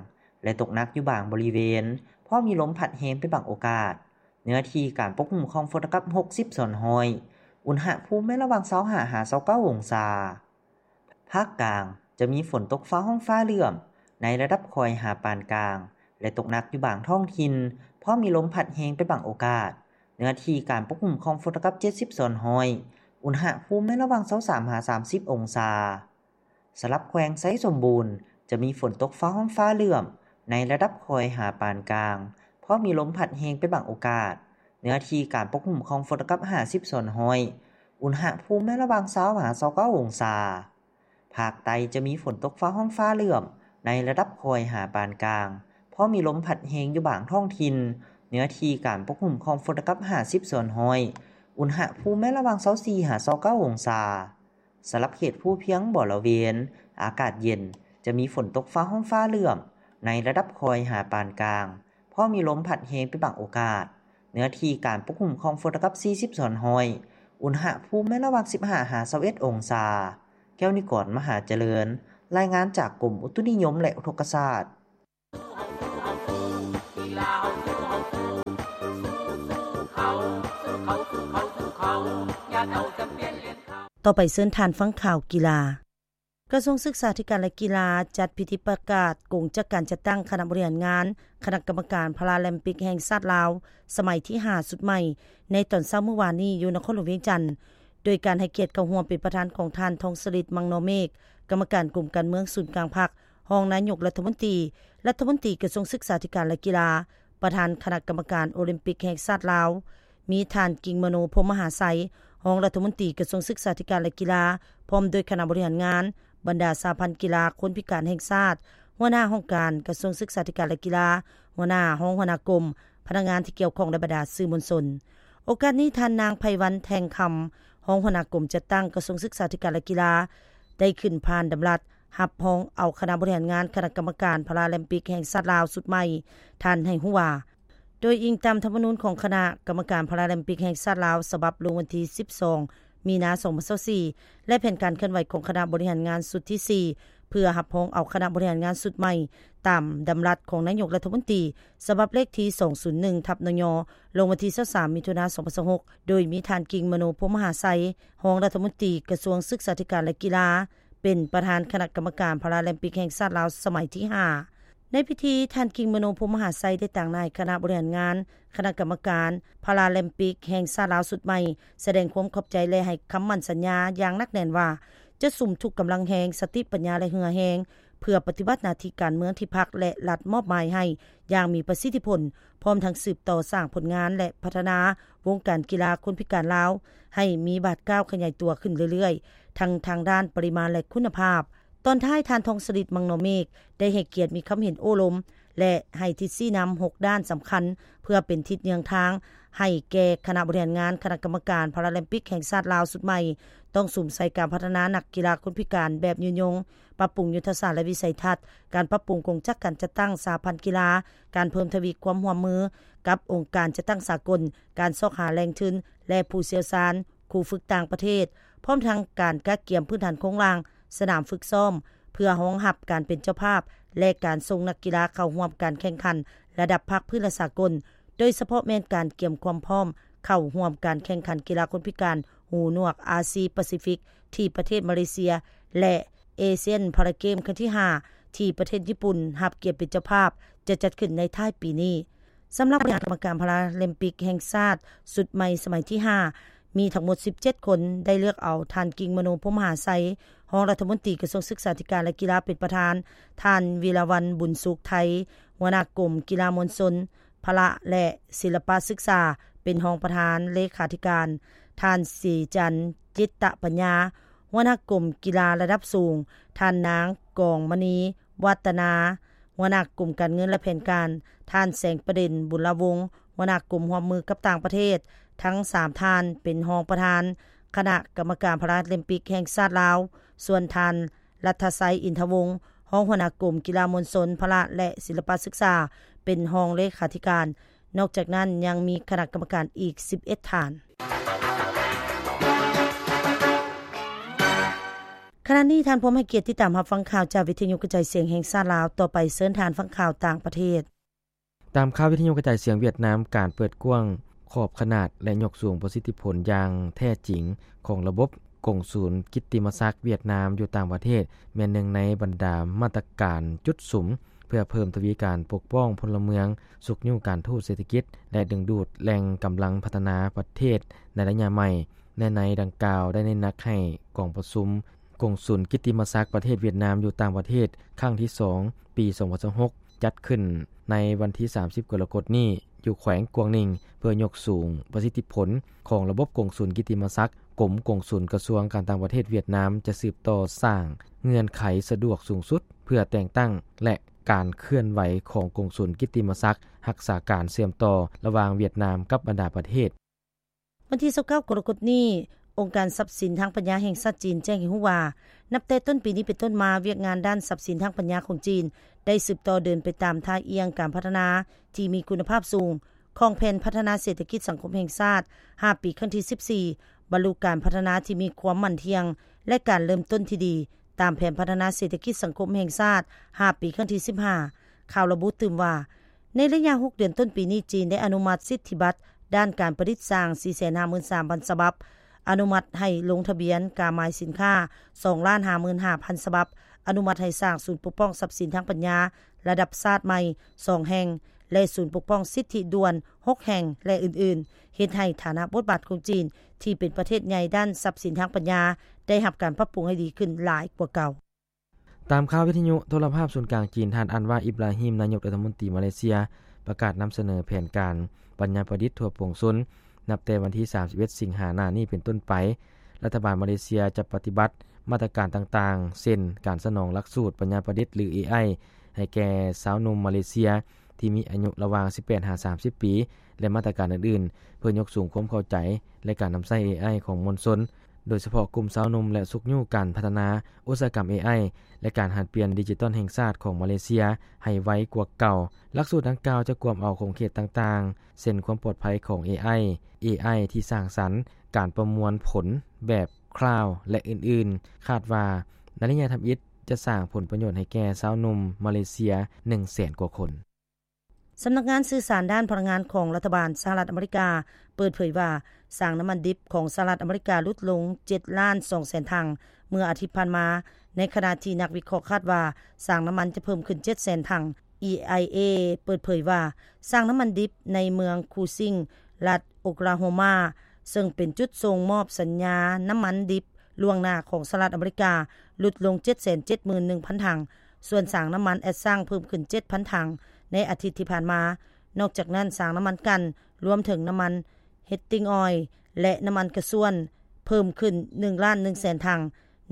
ແລະ ຕົກໜັກຢູ່ບາງບໍລິເວນ, ພໍມີລົມພັດແຮງເປັນບາງໂອກາດ. ເນື້ອທີ່ການປົກຄຸມຂອງຝົນລະດັບຫົກສິບສ່ວນຮ້ອຍ, ອຸນຫະພູມແມ່ນລະຫວ່າງຊາວຫ້າຫາຊາວເກົ້າອົງສາ. ພາກກາງ ຈະມີຝົນຕົກຟ້າຮ້ອງຟ້າເຫຼື້ອມ ໃນລະດັບຄ່ອຍຫາປານກາງ ແລະ ຕົກໜັກຢູ່ບາງທ້ອງຖິ່ນ, ພໍມີລົມພັດແຮງເປັນບາງໂອກາດ. ເນື້ອທີ່ການປົກຄຸມຂອງຝົນລະດັບເຈັດສິບສ່ວນຮ້ອຍ, ອຸນຫະພູມແມ່ນລະຫວ່າງຊາວສາມຫາສາມສິບອົງສາ. ສຳລັບແຂວງໄຊສົມບູນ ຈະມີຝົນຕົກຟ້າຮ້ອງຟ້າເຫຼື້ອມ ໃນລະດັບຄ່ອຍຫາປານກາງ, ພໍມີລົມພັດແຮງເປັນບາງໂອກາດ. ເນື້ອທີ່ການປົກຄຸມຂອງຝົນລະດັບຫ້າສິບສ່ວນຮ້ອຍ, ອຸນຫະພູມແມ່ນລະຫວ່າງຊາວຫາຊາວເກົ້າອົງສາ. ພາກໃຕ້ຈະມີຝົນຕົກຟ້າຮ້ອງຟ້າເຫຼື້ອມ ໃນລະດັບຄ່ອຍຫາປານກາງ, ພໍມີລົມພັດແຮງຢູ່ບາງທ້ອງຖິ່ນ. ເນື້ອທີ່ການປົກຄຸມຂອງຝົນລະດັບຫ້າສິບສ່ວນຮ້ອຍ, ອຸນຫະພູມແມ່ນລະຫວ່າງຊາວສີ່ຫາຊາວເກົ້າອົງສາ. ສຳລັບເຂດພູພຽງບໍລະເວນ ອາກາດເຢັນ, ຈະມີຝົນຕົກຟ້າຮ້ອງຟ້າເຫຼື້ອມ ໃນລະດັບຄ່ອຍຫາປານກາງ, ພໍມີລົມພັດແຮງເປັນບາງໂອກາດ. ເນື້ອທີ່ການປົກຄຸມຂອງຝົນລະດັບສີ່ສິບສ່ວນຮ້ອຍ, ອຸນຫະພູມແມ່ນລະຫວ່າງສິບຫ້າຫາຊາວເອັດອົງສາ. ແກ້ວນິກອນ ມະຫາຈະເລີນ, ລາຍງານຈາກກົມອຸຕຸນິຍົມ ແລະ ອຸທົກກະສາດ. ຕໍ່ໄປເຊີນທ່ານຟັງຂ່າວກິລາ. ກະຊວງສຶກສາທິການ ແລະ ກິລາ ຈັດພິທີປະກາດກົງຈາກການຈັດຕັ້ງຄະນະບໍລິຫານງານຄະນະກຳມະການພາຣາລິມປິກແຫ່ງຊາດລາວ ສະໄໝທີຫ້າ ຊຸດໃໝ່ ໃນຕອນເຊົ້າມື້ວານນີ້ຢູ່ນະຄອນຫຼວງວຽງຈັນ, ໂດຍການໃຫ້ກຽດເຂົ້າຮ່ວມເປັນປະທານຂອງທ່ານ ທອງສະລິດ ມັງນໍເມກ ກຳມະການກົມການເມືອງສູນກາງພັກ, ຮອງນາຍົກລັດຖະມົນຕີ, ລັດຖະມົນຕີກະຊວງສຶກສາທິການ ແລະ ກິລາ, ປະທານຄະນະກຳມະການໂອລິມປິກແຫ່ງຊາດລາວ, ມີທ່ານ ກິ່ງມະໂນ ພົມມະຫາໄຊ ຮອງລັດຖະມົນຕີກະຊວງສຶກສາທິການ ແລະ ກິລາ, ພ້ອມດ້ວຍຄະນະບໍລິຫານງານ, ບັນດາສະຫະພັນກິລາຄົນພິການແຫ່ງຊາດ, ຫົວໜ້າຫ້ອງການກະຊວງສຶກສາທິການ ແລະ ກິລາ, ຫົວໜ້າຫ້ອງ, ຫົວໜ້າກົມ, ພະນັກງານທີ່ກ່ຽວຂ້ອງ ແລະ ບັນດາສື່ມວນຊົນ. ໂອກາດນີ້, ທ່ານນາງ ໄພວັນ ແທ່ງຄຳ ຮອງຫົວໜ້າກົມຈັດຕັ້ງກະຊວງສຶກສາທິການ ແລະ ກິລາ ໄດ້ຂຶ້ນຜ່ານດຳລັດຮັບຮອງເອົາຄະນະບໍລິຫານງານຄະນະກຳມະການພາຣາລິມປິກແຫ່ງຊາດລາວຊຸດໃໝ່. ທ່ານໃຫ້ຮູ້ວ່າ, ໂດຍອີງຕາມທຳມະນູນຂອງຄະນະກຳມະການພາຣາລິມປິກແຫ່ງຊາດລາວ ສະບັບລົງວັນທີສິບສອງ ມີນາ ສອງພັນຊາວສີ່ ແລະ ແຜນການເຄື່ອນໄຫວຂອງຄະນະບໍລິຫານງານຊຸດທີສີ່ ເພື່ອຮັບຮອງເອົາຄະນະບໍລິຫານງານຊຸດໃໝ່ ຕາມດຳລັດຂອງນາຍົກລັດຖະມົນຕີ ສະບັບເລກທີສອງສູນໜຶ່ງ ທັບ ນຍ ລົງວັນທີຊາວສາມ ມິຖຸນາ ສອງພັນຊາວຫົກ ໂດຍມີທ່ານ ກິ່ງມະໂນ ພົມມະຫາໄຊ ຮອງລັດຖະມົນຕີກະຊວງສຶກສາທິການ ແລະ ກິລາ ເປັນປະທານຄະນະກຳມະການພາຣາລິມປິກແຫ່ງຊາດລາວສະໄໝທີຫ້າ. ໃນພິທີ, ທ່ານ ກິ່ງມະໂນ ພົມມະຫາໄຊ ໄດ້ຕາງໜ້າໃຫ້ຄະນະບໍລິຫານງານຄະນະກຳມະການພາຣາລິມປິກແຫ່ງຊາດລາວຊຸດໃໝ່ ສະແດງຄວາມຂອບໃຈ ແລະ ໃຫ້ຄຳໝັ້ນສັນຍາຢ່າງໜັກແໜ້ນວ່າ ຈະສຸມທຸກກຳລັງແຮງ, ສະຕິປັນຍາ ແລະ ເຫື່ອແຮງ ເພື່ອປະຕິບັດໜ້າທີ່ການເມືອງທີ່ພັກ ແລະ ລັດມອບໝາຍໃຫ້ຢ່າງມີປະສິດທິຜົນ, ພ້ອມທັງສືບຕໍ່ສ້າງຜົນງານ ແລະ ພັດທະນາວົງການກິລາຄົນພິການລາວ ໃຫ້ມີບາດກ້າວຂະຫຍາຍຕົວຂຶ້ນເລື້ອຍໆ ທັງທາງດ້ານປະລິມານ ແລະ ຄຸນນະພາບ. ຕອນທ້າຍ, ທ່ານ ທອງສະລິດ ມັງນໍເມກ ໄດ້ໃຫ້ກຽດມີຄຳເຫັນໂອ້ລົມ ແລະ ໃຫ້ທິດຊີ້ນຳຫົກດ້ານສຳຄັນ ເພື່ອເປັນທິດເຍືອງທາງໃຫ້ແກ່ຄະນະບໍລິຫານງານຄະນະກຳມະການພາຣາລິມປິກແຫ່ງຊາດລາວຊຸດໃໝ່ ຕ້ອງສຸມໃສ່ການພັດທະນານັກກິລາຄົນພິການແບບຍືນຍົງ, ປັບປຸງຍຸດທະສາດ ແລະ ວິໄສທັດ, ການປັບປຸງກົງຈັກການຈັດຕັ້ງສະຫະພັນກິລາ, ການເພີ່ມທະວີຄວາມຮ່ວມມືກັບອົງການຈັດຕັ້ງສາກົນ, ການຊອກຫາແຫຼ່ງທຶນ ແລະ ຜູ້ຊ່ຽວຊານ, ຄູຝຶກຕ່າງປະເທດ, ພ້ອມທັງການກະກຽມພື້ນຖານໂຄງລ່າງ, ສະໜາມຝຶກຊ້ອມ ເພື່ອຮອງຮັບການເປັນເຈົ້າພາບ ແລະ ການສົ່ງນັກກິລາເຂົ້າຮ່ວມການແຂ່ງຂັນລະດັບພາກພື້ນ ແລະ ສາກົນ, ໂດຍສະເພາະແມ່ນການກຽມຄວາມພ້ອມເຂົ້າຮ່ວມການແຂ່ງຂັນກິລາຄົນພິການຫູໜວກອາຊີປາຊີຟິກ ທີ່ປະເທດມາເລເຊຍ ແລະ ເອຊຽນພາຣາເກມຄັ້ງທີຫ້າ ທີ່ປະເທດຍີ່ປຸ່ນຮັບກຽດເປັນເຈົ້າພາບ ຈະຈັດຂຶ້ນໃນທ້າຍປີນີ້. ສຳລັບຄະນະກຳມະການພາຣາລິມປິກແຫ່ງຊາດຊຸດໃໝ່ສະໄໝທີຫ້າ ມີທັງໝົດສິບເຈັດຄົນ, ໄດ້ເລືອກເອົາທ່ານ ກິ່ງມະໂນ ພົມມະຫາໄຊ ຮອງລັດຖະມົນຕີກະຊວງສຶກສາທິການ ແລະ ກິລາ ເປັນປະທານ, ທ່ານ ວິລາວັນ ບຸນສຸກໄທ ຫົວໜ້າກົມກິລາມວນຊົນ, ພະລະ ແລະ ສິລະປະສຶກສາ ເປັນຮອງປະທານເລຂາທິການ, ທ່ານ ສີຈັນ ຈິດຕະປັນຍາ ຫົວໜ້າກົມກິລາລະດັບສູງ, ທ່ານນາງ ກອງມະນີ ວັດຕະນາ ຫົວໜ້າກົມການເງິນ ແລະ ແຜນການ, ທ່ານ ແສງປະເດັນ ບຸນລະວົງ ຫົວໜ້າກົມຮ່ວມມືກັບຕ່າງປະເທດ, ທັງສາມທ່ານເປັນຮອງປະທານຄະນະກຳມະການພາຣາລິມປິກແຫ່ງຊາດລາວ, ສ່ວນທ່ານ ລັດທະໄຊ ອິນທະວົງ ຮອງຫົວໜ້າກົມກິລາມວນຊົນ, ພະລະ ແລະ ສິລະປະສຶກສາ ເປັນຮອງເລຂາທິການ. ນອກຈາກນັ້ນຍັງມີຄະນະກຳມະການອີກສິບເອັດທ່ານ. ຂະນະນີ້ທ່ານພວມໃຫ້ກຽດຕິດຕາມຮັບຟັງຂ່າວຈາກວິທະຍຸກະຈາຍສຽງແຫ່ງຊາດລາວ. ຕໍ່ໄປເຊີນທ່ານຟັງຂ່າວຕ່າງປະເທດ. ຕາມຂ່າວວິທະຍຸກະຈາຍສຽງຫວຽດນາມ, ການເປີດກວ້າງຂອບຂະໜາດ ແລະ ຍົກສູງປະສິດທິຜົນຢ່າງແທ້ຈິງຂອງລະບົບກົງສູນກິດຕິມະສັກຫວຽດນາມຢູ່ຕ່າງປະເທດ ແມ່ນໜຶ່ງໃນບັນດາມາດຕະການຈຸດສຸມ ເພື່ອເພີ່ມທະວີການປົກປ້ອງພົນລະເມືອງ, ຊຸກຍູ້ການທູດເສດຖະກິດ ແລະ ດຶງດູດແຫຼ່ງກຳລັງພັດທະນາປະເທດໃນໄລຍະໃໝ່. ໃນໃນດັ່ງກ່າວໄດ້ເນັ້ນໜັກໃຫ້ກອງປະຊຸມ ກົງສູນກິດຕິມະສັກປະເທດຫວຽດນາມຢູ່ຕ່າງປະເທດຄັ້ງທີສອງ ປີສອງພັນຊາວຫົກ ຈັດຂຶ້ນໃນວັນທີສາມສິບ ກໍລະກົດນີ້ ຢູ່ແຂວງກວາງໜິງ ເພື່ອຍົກສູງປະສິດທິຜົນຂອງລະບົບກົງສູນກິດຕິມະສັກ. ກົມກົງສູນກະຊວງການຕ່າງປະເທດຫວຽດນາມຈະສືບຕໍ່ສ້າງເງື່ອນໄຂສະດວກສູງສຸດ ເພື່ອແຕ່ງຕັ້ງ ແລະ ການເຄື່ອນໄຫວຂອງກົງສູນກິດຕິມະສັກ, ຮັກສາການເຊື່ອມຕໍ່ລະຫວ່າງຫວຽດນາມກັບບັນດາປະເທດ. ວັນທີຊາວເກົ້າ ກໍລະກົດນີ້, ອົງການຊັບສິນທາງປັນຍາແຫ່ງຊາດຈີນແຈ້ງໃຫ້ຮູ້ວ່າ, ນັບແຕ່ຕົ້ນປີນີ້ເປັນຕົ້ນມາ, ວຽກງານດ້ານຊັບສິນທາງປັນຍາຂອງຈີນ ໄດ້ສືບຕໍ່ເດີນໄປຕາມທ່າອ່ຽງການພັດທະນາທີ່ມີຄຸນນະພາບສູງຂອງແຜນພັດທະນາເສດຖະກິດສັງຄົມແຫ່ງຊາດ ຫ້າ ປີ ຄັ້ງທີສິບສີ່, ບັນລຸການພັດທະນາທີ່ມີຄວາມໝັ້ນທ່ຽງ ແລະ ການເລີ່ມຕົ້ນທີ່ດີ ຕາມແຜນພັດທະນາເສດຖະກິດສັງຄົມແຫ່ງຊາດ ຫ້າປີ ຄັ້ງທີສິບຫ້າ. ຂ່າວລະບຸຕື່ມວ່າ ໃນໄລຍະຫົກເດືອນຕົ້ນປີນີ້, ຈີນໄດ້ອະນຸມັດສິດທິບັດດ້ານການປະດິດສ້າງ ສີ່ແສນຫ້າໝື່ນສາມພັນ ສະບັບ, ອະນຸມັດໃຫ້ລົງທະບຽນກາໝາຍສິນຄ້າ ສອງລ້ານຫ້າໝື່ນຫ້າພັນ ສະບັບ, ອະນຸມັດໃຫ້ສ້າງສູນປົກປ້ອງຊັບສິນທາງປັນຍາລະດັບຊາດໃໝ່ ສອງແຫ່ງ ແລະ ສູນປົກປ້ອງສິດທິດ່ວນ ຫົກແຫ່ງ ແລະ ອື່ນໆ, ເຮັດໃຫ້ຖານະບົດບາດຂອງຈີນ ທີ່ເປັນປະເທດໃຫຍ່ດ້ານຊັບສິນທາງປັນຍາ ໄດ້ຮັບການປັບປຸງໃຫ້ດີຂຶ້ນຫຼາຍກວ່າເກົ່າ. ຕາມຂ່າວວິທະຍຸໂທລະພາບສູນກາງຈີນ, ທ່ານ ອັນວາ ອິບລາຮິມ ນາຍົກລັດຖະມົນຕີມາເລເຊຍ ປະກາດນຳສະເໜີແຜນການປັນຍາປະດິດທົ່ວປວງຊົນ ນັບແຕ່ວັນທີສາມສິບເອັດ ສິງຫາໜ້ານີ້ເປັນຕົ້ນໄປ. ລັດຖະບານມາເລເຊຍຈະປະຕິບັດມາດຕະການຕ່າງໆ ເຊັ່ນ ການສະໜອງຫຼັກສູດປັນຍາປະດິດ ຫຼື ເອໄອ ໃຫ້ແກ່ຊາວໜຸ່ມມາເລເຊຍທີ່ມີອາຍຸລະຫວ່າງສິບແປດຫາສາມສິບປີ ແລະ ມາດຕະການອື່ນໆ ເພື່ອຍົກສູງຄວາມເຂົ້າໃຈ ແລະ ການນຳໃຊ້ເອໄອຂອງມວນຊົນ, ໂດຍສະເພາະກຸ່ມຊາວໜຸ່ມ ແລະ ຊຸກຍູ້ການພັດທະນາອຸດສາຫະກຳເອໄອ ແລະ ການຫັນປ່ຽນດິຈິຕອນແຫ່ງຊາດຂອງມາເລເຊຍໃຫ້ໄວກວ່າເກົ່າ. ຫຼັກສູດດັ່ງກ່າວຈະກວມເອົາຂົງເຂດຕ່າງໆ ເຊັ່ນ ຄວາມປອດໄພຂອງເອໄອ, ເອໄອທີ່ສ້າງສັນ, ການປະມວນຜົນແບບຄລາວ ແລະ ອື່ນໆ. ຄາດວ່າໃນໄລຍະທຳອິດຈະສ້າງຜົນປະໂຫຍດໃຫ້ແກ່ຊາວໜຸ່ມມາເລເຊຍ ໜຶ່ງແສນກວ່າຄົນ. ສຳນັກງານສື່ສານດ້ານພະລັງງານຂອງລັດຖະບານສະຫະລັດອາເມລິກາເປີດເຜີຍວ່າ ສາງນ້ຳມັນດິບຂອງສະຫະລັດອາເມລິກາຫຼຸດລົງເຈັດລ້ານສອງແສນຖັງເມື່ອອາທິດຜ່ານມາ. ໃນຂະນະທີ່ນັກວິເຄາະຄາດວ່າ ສາງນ້ຳມັນຈະເພີ່ມຂຶ້ນເຈັດແສນຖັງ. ເອໄອເອ ເປີດເຜີຍວ່າ ສາງນ້ຳມັນດິບໃນເມືອງຄູຊິງ ລັດໂອຄລາໂຮມາ ເຊິ່ງເປັນຈຸດສົ່ງມອບສັນຍານ້ຳມັນດິບລ່ວງໜ້າຂອງສະຫະລັດອາເມລິກາ ຫຼຸດລົງເຈັດແສນເຈັດໝື່ນໜຶ່ງພັນຖັງ, ສ່ວນສາງນ້ຳມັນແອັດຊັງເພີ່ມຂຶ້ນເຈັດພັນຖັງໃນອາທິດທີ່ຜ່ານມາ. ນອກຈາກນັ້ນ, ສາງນ້ຳມັນກັ່ນ ລວມເຖິງນ້ຳມັນເຮັດຕິງອອຍ ແລະ ນ້ຳມັນກະຊວນ ເພີ່ມຂຶ້ນໜຶ່ງລ້ານໜຶ່ງແສນຖັງ,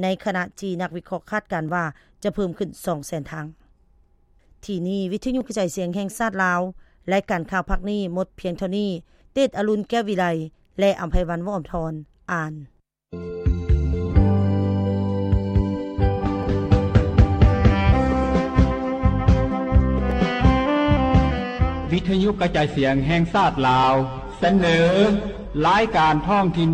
ໃນຂະນະທີ່ນັກວິເຄາະຄາດການວ່າຈະເພີ່ມຂຶ້ນສອງແສນຖັງ. ທີ່ນີ້ ວິທະຍຸກະຈາຍສຽງແຫ່ງຊາດລາວ, ລາຍການຂ່າວພາກນີ້ໝົດພຽງເທົ່ານີ້. ເຕດອະລຸນ ແກ້ວວິໄລ ແລະ ອຳໄພວັນ ວໍ້າທອນ ອ່ານ. ວິທະຍຸກະຈາຍສຽງແຫ່ງຊາດລາວ ສະເໜີລາຍການທ້ອງຖິ່ນ